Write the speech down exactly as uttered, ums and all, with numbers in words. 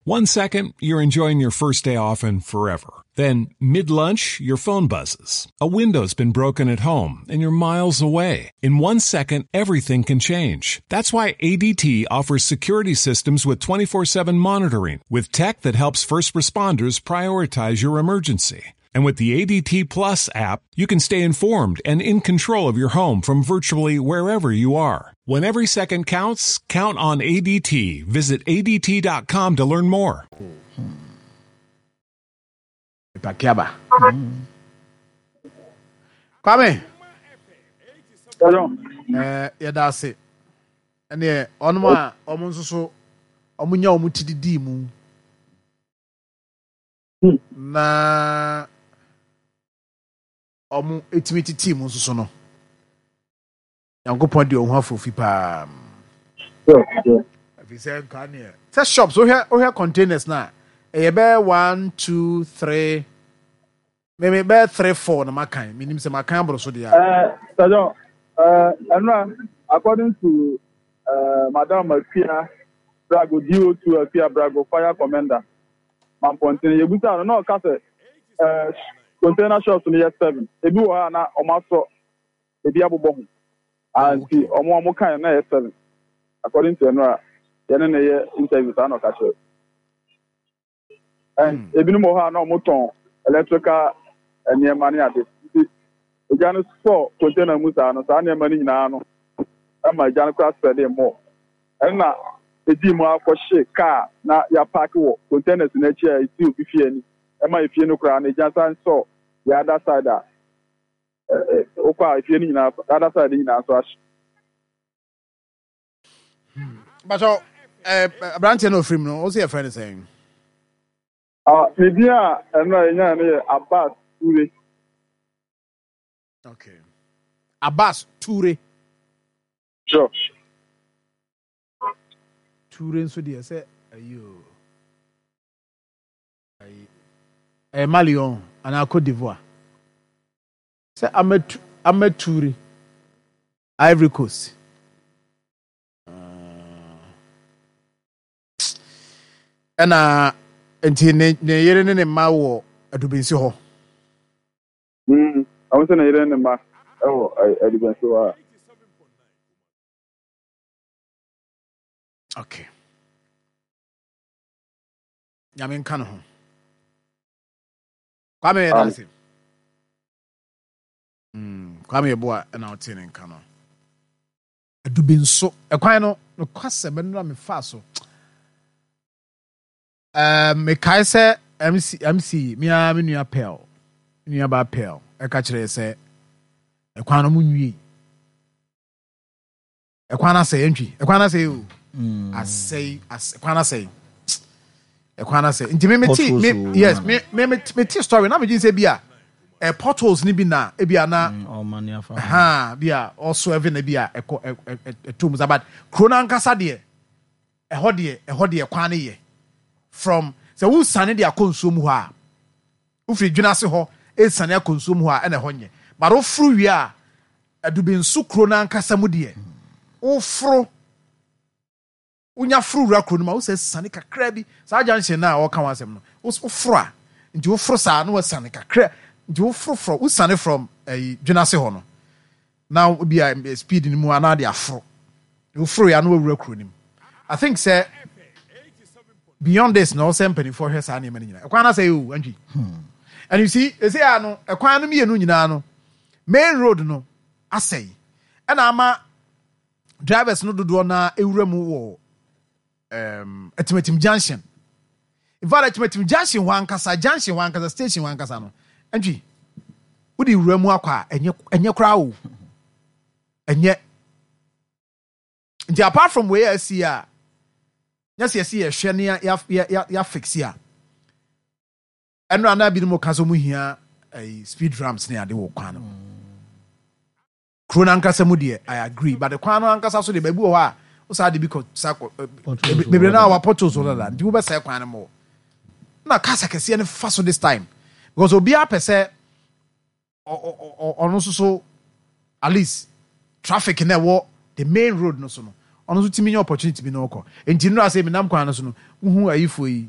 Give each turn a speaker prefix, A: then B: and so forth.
A: One second, you're enjoying your first day off and forever. Then, mid lunch, your phone buzzes. A window's been broken at home and you're miles away. In one second, everything can change. That's why A D T offers security systems with twenty-four seven monitoring, with tech that helps first responders prioritize your emergency. And with the A D T Plus app, you can stay informed and in control of your home from virtually wherever you are. When every second counts, count on A D T. Visit A D T dot com to learn more.
B: Pakiaba. Kwame. Eh, yɛda ase. Ɛneɛ ɔnom a ɔmo nso so ɔmo nya ɔmo ti didi mu na ɔmo etumi titi mu nso so no, Nyankopɔn de ɔho afofi paa, ɛfiri sɛ nka neɛ sɛ shops, wohwɛ wohwɛ containers na ɛyɛ bɛyɛ one, two, three, mɛmɛ bɛyɛ three, four na makan. Menim sɛ makan aboro so deɛ a.
C: Sir, ɛnura, according to uh, Madam Afia Brago, D O two Afia Brago, fire commander Mampɔntene, yɛbusa no na ɔka sɛ uh, container shops no yɛ seven. Ebi wɔ hɔ a na ɔmo asɔ ebi abobɔ ho nti ɔmo ɔmo kan na yɛ seven, according to ɛnura yɛne ne yɛ interview saa na ɔka kyerɛ. And ebinom wɔ hɔ a na ɔmo tɔn electrical nneɛma ne ade, nti egya no sɔ container mu saa no, saa nneɛma no nyinaa no ɛma egya no kora spread more. Ɛna edi mu akɔhye kaa na yɛapark wɔ containers n'akyi a esi obi fie ani, ɛma efie no koraa no egya san sɔ the other side a ɛ ɛ okɔ a, efie no nyinaa, the other side nyinaa nso ahye.
B: Bàtɔ ɛɛ aberanteɛ no ofiri mu no, ɔsi yɛ fɛ ne sɛn?
C: Ah, ne din a ɛno a yɛnyaa no yɛ Abbas Ture.
B: Okay, Abbas Ture.
C: Sure.
B: Ture nso deɛ, sɛ ayi o, ayi ɛyɛ Mali ɔn anaa Cote d'Ivoire, sɛ Amatu Amature, Ivory Coast. Ah. Ɛna nti ne ne yere ne ne mma wɔ Adubinsi hɔ?
C: Mm, ɔmo sɛ ne yere ne mma ɛwɔ Adubɛnso hɔ a.
B: Okay, Nyame nka ne ho. Kwame, yɛ
C: Um,
B: dase. Mm, kwame Yɛboa ɛna ɔte ne nka no. Adubinso ɛkwan no, nokwasɛm, ɛno na mefaa so. Um, mekae sɛ M C, M C mea me nua Pel, me nua baa Pel ɛka kyerɛ yɛ sɛ ɛkwan no mu nwie, ɛkwan no asɛe. Ɛntwi ɛkwan no asɛe o, asɛe, asɛe, ɛkwan no asɛe, ɛkwan no asɛe. Nti me me ti me
D: Potholes wɔ
B: yes
D: mu.
B: me me me me ti story na me gye sɛ bi a ɛ potholes ni bi na ebi a na
D: ɔma ne afa ho.
B: Ha bi a ɔso ɛvi na bi a ɛkɔ ɛ ɛ ɛ ɛto mu sa, but kuro no ankasa deɛ, ɛhɔ deɛ ɛhɔ deɛ kwan no yɛ from sɛ wosane de akɔ nsuo mu hɔ a, wofiri dwena ase hɔ esane akɔ nsuo mu hɔ a, ɛna ɛhɔ nyɛ. But woforo wie a, Adubinso kuro no ankasa mu deɛ, woforo, wonya foro wura kuro no mu a, wosɛ sane kakra bi saa junction na a ɔka ho asɛm no, wos- woforo a, nti woforo saa na wasane kakra, nti woforo forɔ, wosane from ɛyi dwena ase hɔ no na bi a eh, speed no mu anaa de aforo, woforo ya na wawura kuro no mu. I think sɛ beyond this na ɔsɛ mpanimfoɔ hwɛ saa nneɛma no nyinaa. Ɛkwan no asɛ o, Antwi, and you see, ɛsɛ ya no, ɛkwan no mmienu nyinaa no, main road no asɛe, ɛna ama drivers no dodoɔ na ewura mu wɔ um, Atimatim junction. In fact, Atimatim junction hɔ ankasa, junction hɔ ankasa, station hɔ ankasa no, Antwi, wode wura mu akɔ a, ɛnyɛ ɛnyɛ koraa o, ɛnyɛ. Nti apart from wei a asi a, nyɛ sɛ yɛsi yɛhwɛ ne ya ya ya ya fix a, ɛno anaa binom ka sɛ ɔmo hia ɛyi speed ramps ne ade wɔ kwan no kuro no ankasa mu deɛ, I agree, but kwan no ankasa so deɛ, baabi wɔ hɔ a wosaa de bi kɔ sa kɔ ɛ,
D: Potholes wɔ
B: bebree
D: hɔ
B: naa
D: dada.
B: wa potholes wɔ dada, nti wobɛsɛe kwan no mɔ na cars akɛseɛ no fa so this time, because obiara pɛ sɛ ɔ- ɔ- ɔ- ɔno nso so at least traffic na ɛwɔ the main road no so no, ɔno nso tumi nya opportunity bi na ɔkɔ. Nti nnura sɛ menam kwan no so no, wohu ayifoɔ yi.